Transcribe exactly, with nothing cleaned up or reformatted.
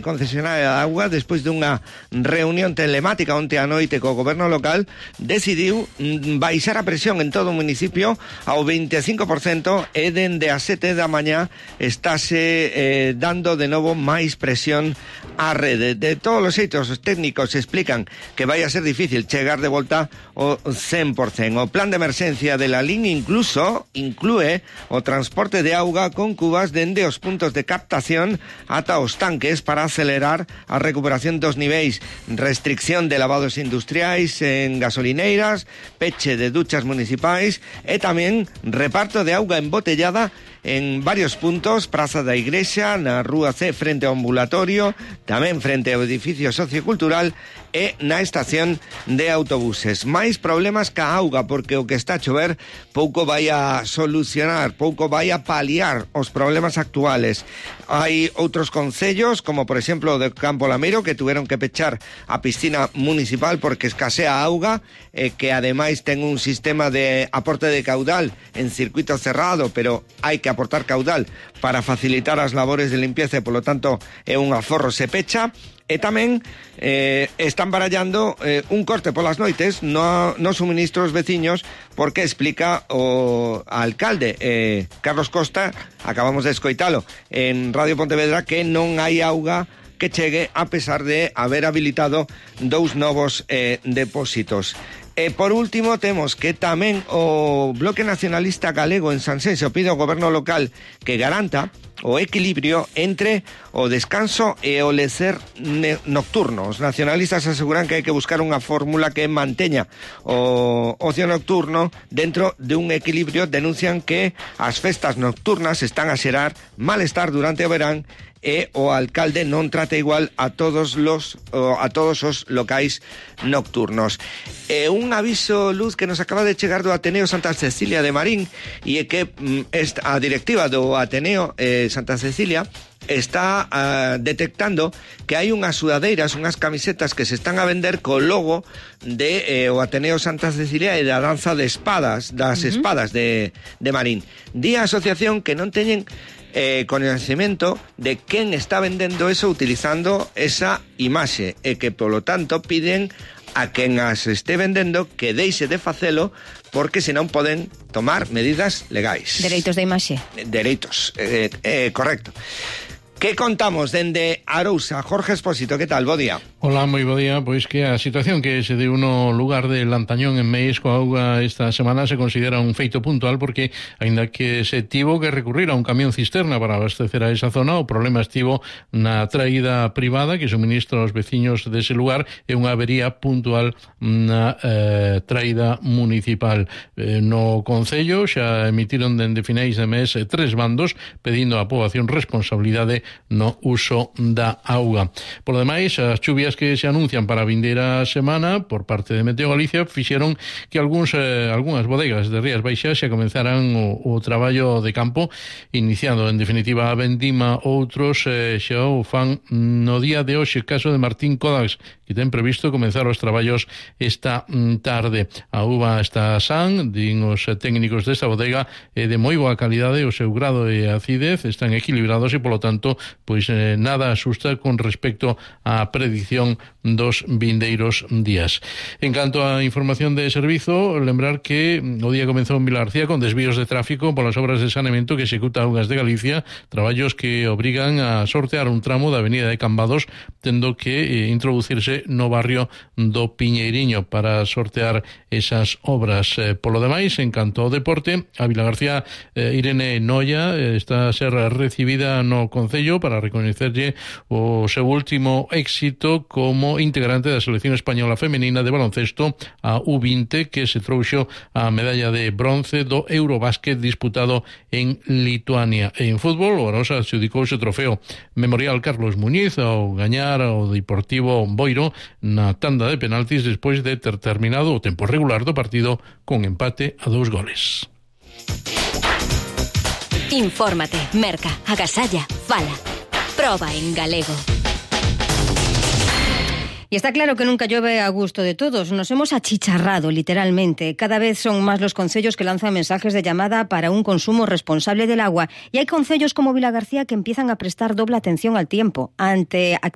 concesionaria de auga, despois dunha reunión telemática onte a noite co goberno local, decidiu baixar a presión en todo o municipio ao veinticinco por cento e dende as sete da mañá estáse eh, dando de novo máis presión á rede. De todos os xeitos, os técnicos explican que vai a ser difícil chegar de volta ao cen por cento. O plan de emerxencia de la línea incluso inclúe o transporte de auga con cubas dende os puntos de captación ata os tanques para acelerar a recuperación dos niveis, restricción de lavados industriais en gasolineiras, peche de duchas municipais e tamén reparto de auga embotellada en varios puntos, Praza da Igrexa, na Rúa C frente ao ambulatorio, tamén frente ao edificio sociocultural e na estación de autobuses. Máis problemas ca auga, porque o que está a chover pouco vai a solucionar, pouco vai a paliar os problemas actuales. Hai outros concellos, como por exemplo o de Campo Lameiro, que tuveron que pechar a piscina municipal porque escasea auga, eh, que ademais ten un sistema de aporte de caudal en circuito cerrado, pero hai que aportar caudal para facilitar as labores de limpieza e, polo tanto, é un aforro se pecha. E tamén eh, están barallando eh, un corte polas noites no, no suministros veciños, porque explica o alcalde eh, Carlos Costa, acabamos de escoitalo en Radio Pontevedra, que non hai auga que chegue a pesar de haber habilitado dous novos eh, depósitos. E por último temos que tamén o Bloque Nacionalista Galego en Sanxenxo pide ao goberno local que garanta o equilibrio entre o descanso e o lecer nocturno. Os nacionalistas aseguran que hai que buscar unha fórmula que manteña o ocio nocturno dentro de un equilibrio. Denuncian que as festas nocturnas están a xerar malestar durante o verán e o alcalde non trata igual a todos los a todos os locais nocturnos. E un aviso, Luz, que nos acaba de chegar do Ateneo Santa Cecilia de Marín, e é que mm, a directiva do Ateneo eh, Santa Cecilia está uh, detectando que hai unhas sudadeiras, unhas camisetas que se están a vender co logo de eh, o Ateneo Santa Cecilia e da danza de espadas, das uh-huh. espadas de, de Marín. Di a asociación que non teñen eh, conhecimento de quen está vendendo eso utilizando esa imaxe e que, polo tanto, piden a quen as este vendendo que deixe de facelo, porque senón poden tomar medidas legais. Dereitos de imaxe. Dereitos, eh, eh, correcto. Que contamos dende Arousa? Jorge Espósito, que tal? Bo día. Hola, moi bo día. Pois que a situación que se deu no lugar de Lantañón en Meis coa auga esta semana se considera un feito puntual, porque aínda que se tivo que recurrir a un camión cisterna para abastecer a esa zona, o problema estivo na traída privada que suministra aos veciños dese lugar e unha avería puntual na eh, traída municipal. Eh, no Concello xa emitiron dende finais de mes eh, tres bandos pedindo á poboación responsabilidade no uso da auga. Por lo demais, as chuvias que se anuncian para a vindeira semana por parte de Meteo Galicia fixeron que algúns, eh, algunhas bodegas de Rías Baixas xa comenzaran o, o traballo de campo, iniciando en definitiva a vendima. Outros eh, xa o fan no día de hoxe, caso de Martín Kodax, que ten previsto comenzar os traballos esta tarde. A uva está san, din os técnicos desta bodega, é de moi boa calidade, o seu grado de acidez están equilibrados e, polo tanto, pois eh, nada asusta con respecto á predicción dos vindeiros días. En canto á información de servizo, lembrar que o día comenzou en Vilarcía con desvíos de tráfico polas obras de saneamento que executa Augas de Galicia, traballos que obrigan a sortear un tramo da avenida de Cambados, tendo que eh, introducirse no barrio do Piñeiriño para sortear esas obras. Eh, polo demais, en canto ao deporte, a Vilagarcía eh, Irene Noia eh, está a ser recibida no Concello para recoñecerlle o seu último éxito como integrante da selección española femenina de baloncesto, a U vinte, que se trouxo a medalla de bronce do Eurobásquet disputado en Lituania. En fútbol, o Arosa adxudicouse o trofeo Memorial Carlos Muñiz ao gañar o Deportivo Boiro na tanda de penaltis despois de ter terminado o tempo regular do partido con empate a dous goles. Infórmate, merca, agasalla, fala. Proba en galego. Y está claro que nunca llueve a gusto de todos. Nos hemos achicharrado, literalmente. Cada vez son más los concellos que lanzan mensajes de llamada para un consumo responsable del agua. Y hay concellos como Vilagarcía que empiezan a prestar doble atención al tiempo. Ante